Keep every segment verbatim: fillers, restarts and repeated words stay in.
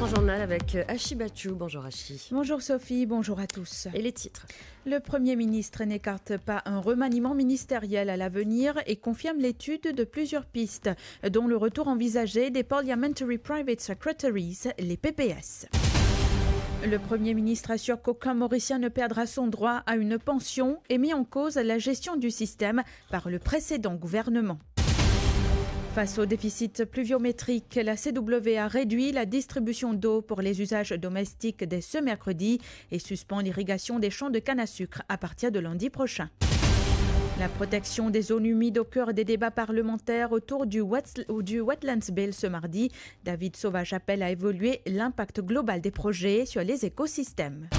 Journal avec, euh, Ashi Bachou. Bonjour Ashi. Bonjour Sophie, bonjour à tous. Et les titres ? Le Premier ministre n'écarte pas un remaniement ministériel à l'avenir et confirme l'étude de plusieurs pistes, dont le retour envisagé des Parliamentary Private Secretaries, les P P S. Le Premier ministre assure qu'aucun Mauricien ne perdra son droit à une pension et met en cause la gestion du système par le précédent gouvernement. Face au déficit pluviométrique, la C W a réduit la distribution d'eau pour les usages domestiques dès ce mercredi et suspend l'irrigation des champs de canne à sucre à partir de lundi prochain. La protection des zones humides au cœur des débats parlementaires autour du Wet-, du Wetlands Bill ce mardi. David Sauvage appelle à évaluer l'impact global des projets sur les écosystèmes.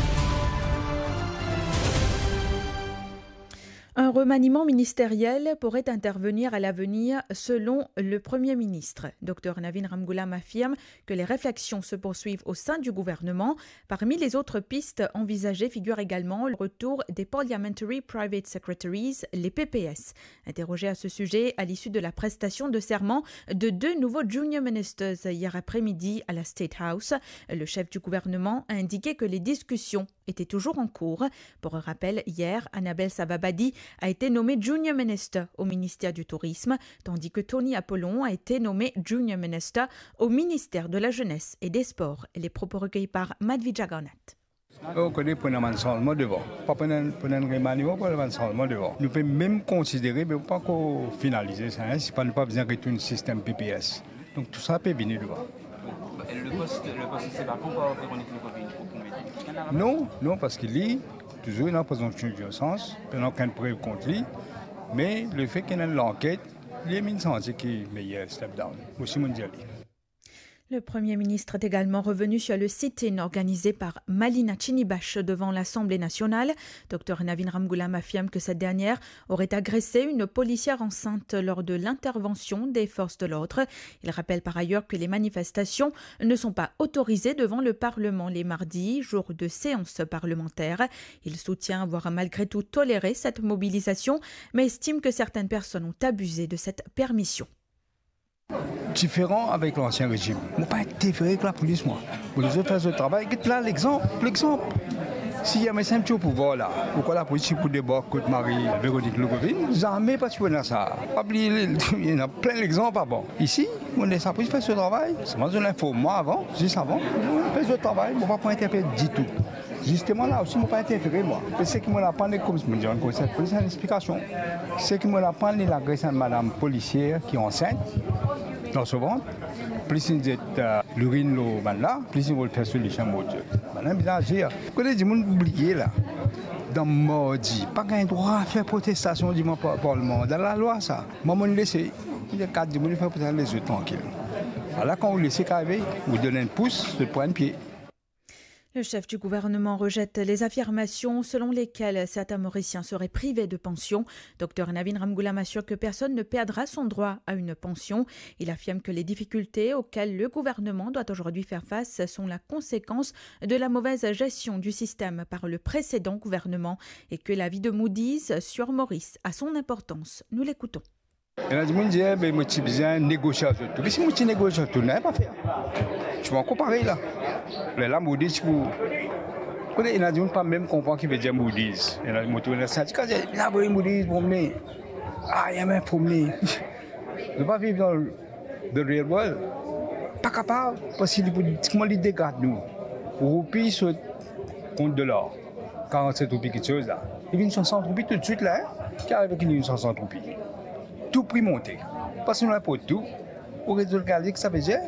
Un remaniement ministériel pourrait intervenir à l'avenir, selon le Premier ministre. Docteur Navin Ramgoolam affirme que les réflexions se poursuivent au sein du gouvernement. Parmi les autres pistes envisagées figure également le retour des Parliamentary Private Secretaries, les P P S. Interrogé à ce sujet à l'issue de la prestation de serment de deux nouveaux junior ministers hier après-midi à la State House, le chef du gouvernement a indiqué que les discussions était toujours en cours. Pour rappel, hier, Annabelle Savabadi a été nommée Junior Minister au ministère du Tourisme, tandis que Tony Apollon a été nommé Junior Minister au ministère de la Jeunesse et des Sports. Les propos recueillis par Madhvi Jagannath. Ou kone pou ena bann sanzman devan. Pa pou ena, pou ena remaniman, pou ena bann sanzman devan. Nou pe mem konsidere, me pa ankor finalize sa, hein, si pa nou pa bizin retourn sistem P P S. Donk tou sa pe vini devan. Le poste, le poste, c'est vacant par Véronique Lecoq, pour combien de temps ? Non, non, parski li, touzour ena prezonpsion dinosans, pena okenn prev kont li, me lefet ki ena lanket, li amenn santi ki meyer step down. Mo osi mo dir li. Le Premier ministre est également revenu sur le sit-in organisé par Malina Chinibach devant l'Assemblée nationale. Docteur Navin Ramgoolam affirme que cette dernière aurait agressé une policière enceinte lors de l'intervention des forces de l'ordre. Il rappelle par ailleurs que les manifestations ne sont pas autorisées devant le Parlement les mardis, jour de séance parlementaire. Il soutient avoir malgré tout toléré cette mobilisation, mais estime que certaines personnes ont abusé de cette permission. Diferan avek lansien rezim. Mo pa interfere ek lapolis, mwa. Mo les zot fer zot travay. Get la, lexanp, lexanp. Si M S M ti o pouvwar la, ou krwar lapolis ti pou debark kot Marie Véronique Lecoq? Zame, pa ti pou ena sa. Pa bliye, ena plin lexanp avan. Isi, mo les lapolis fer so travay. Selman zot inform mwa avan, zis avan. Fer zot travay, mo pa pou interfere ditou. Zisteman, la osi, mo pa interfere, mwa. Me seki mo aprann, kouma mo dir, enn konsey polis, enn explikasion. Seki mo aprann, li agres enn madam polisier ki ansint dan so vant, plis li zet, eh, lourinn lor bannla, plis li vol fer so lisien, Bondie. Bannla bizin azir. Kote dimoun bliye la, dan mardi, pa gagn drwa fer protestasion devan par-, parlman. Dan lalwa sa. Mwa, mo les, mo dir, kat dimoun fer protestasyon, les zot trankil. Ala, kan ou les sa arive, ou donn enn pous, zot pran enn pie. Le chef du gouvernement rejette les affirmations selon lesquelles certains Mauriciens seraient privés de pension. Docteur Navin Ramgoolam assure que personne ne perdra son droit à une pension. Il affirme que les difficultés auxquelles le gouvernement doit aujourd'hui faire face sont la conséquence de la mauvaise gestion du système par le précédent gouvernement et que l'avis de Moody's sur Maurice a son importance. Nous l'écoutons. Ena dimoun dir, "Be, mo ti bizin negosie ar zot tou." Me si mo ti negosie ar tou, nanye pa fer. Ti pou ankor parey la. Lerla Moody's ti pou, kote ena dimoun pa mem konpran ki vedir Moody's. Ena dimoun tou, ena sindika dir, "Bizin avoy Moody's promne." Ah, ya mem promne. Nou pa viv dan the real world. Pa kapav, parski li pou, kouma li degrad nou. Roupi sot kont dolar. Karant-set roupi kiksoz la. Li vinn swasant roupi toutswit la, hein? Ki arive ki li vinn swasant roupi? Tou pri monte. Parski nou inport tou. Ou rezolv gade ki sa vedir?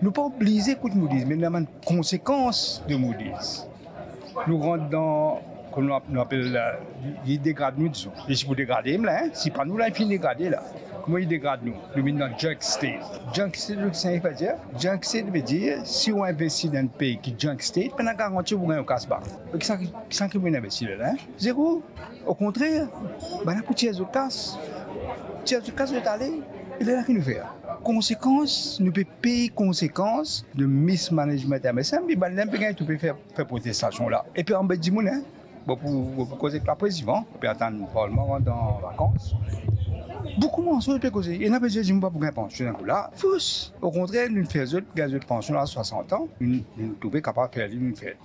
Nou pa oblize ekout Moody's, me nou ena bann konsekans de Moody's. Nou rant dan, kouma nou ap-, nou apel la, li, li degrad nou, dizon. Li ti pou degrade mem la, hein? Si pa nou la, li finn degrade la. Kouma li degrad nou? Nou vinn dan junk state. Junk state, sa vedir? Junk state vedir, si ou investi dan enn pei ki junk state, pena garanti ou pou gagn ou kas bak. Me kisa ki, kisa ki pou investir la, hein? Zero. Okontrer, bannla pou tir zot kas. Tir zot kas, zot ale. E lerla ki nou fer? Konsekans, nou pe pey konsekans de mismanagement M S M, e bannla pe gagn tou pe fer, fer protestasyon la. Epi anbet dimoun, hein? Bon, pou, pou koze ek laprez, Ivan, epi atann parlman rant an vakans. Boukou manson pe koze, ena pe dir, mo pa pou gagn pansion enn kou la. Fos. Okontrer, nou fer zot gagn zot pansion a swasant an, nou, nou trouve kapav fer li, nou fer.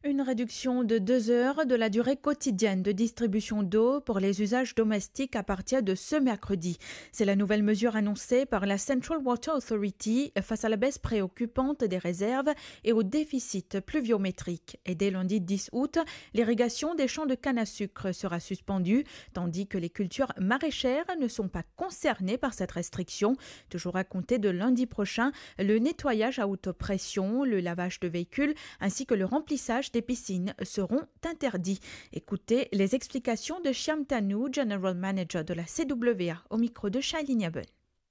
Une réduction de deux heures de la durée quotidienne de distribution d'eau pour les usages domestiques à partir de ce mercredi. C'est la nouvelle mesure annoncée par la Central Water Authority face à la baisse préoccupante des réserves et au déficit pluviométrique. Et dès lundi dix août, l'irrigation des champs de canne à sucre sera suspendue, tandis que les cultures maraîchères ne sont pas concernées par cette restriction. Toujours à compter de lundi prochain, le nettoyage à haute pression, le lavage de véhicules ainsi que le remplissage des piscines seront interdits. Écoutez les explications de Shyam Tanu, General Manager de la C W A, au micro de Shailene Aben.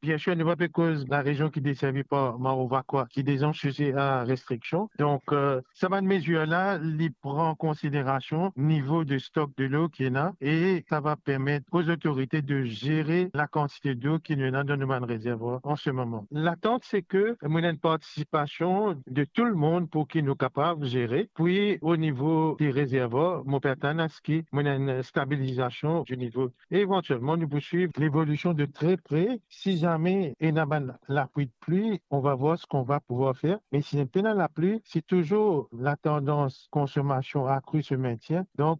Bien sir, nou pa pe koz larezion ki deservi par Maro Vacoas, ki deza size a restriksion. Donk, euh, sa bann mezir la, li pran konsiderasion nivo de stok delo ki ena e sa va permet aux autorités de gérer la kantite delo ki nou ena dan nou bann rezervwar an se moman. Latant, se ke nou ena enn partisipasion de tou lemonn pou ki nou kapav zere. Pi, o nivo de rezervwar, mo pe atann aski nou ena enn stabilizasion di nivo. E evantielman, nou pou swiv levolision de tre pre. Si zame ena bann lapli de pli, on va voir ce qu'on va pouvoir faire. Me si pena lapli, si touzour la tendance consommation accrue se maintient, donk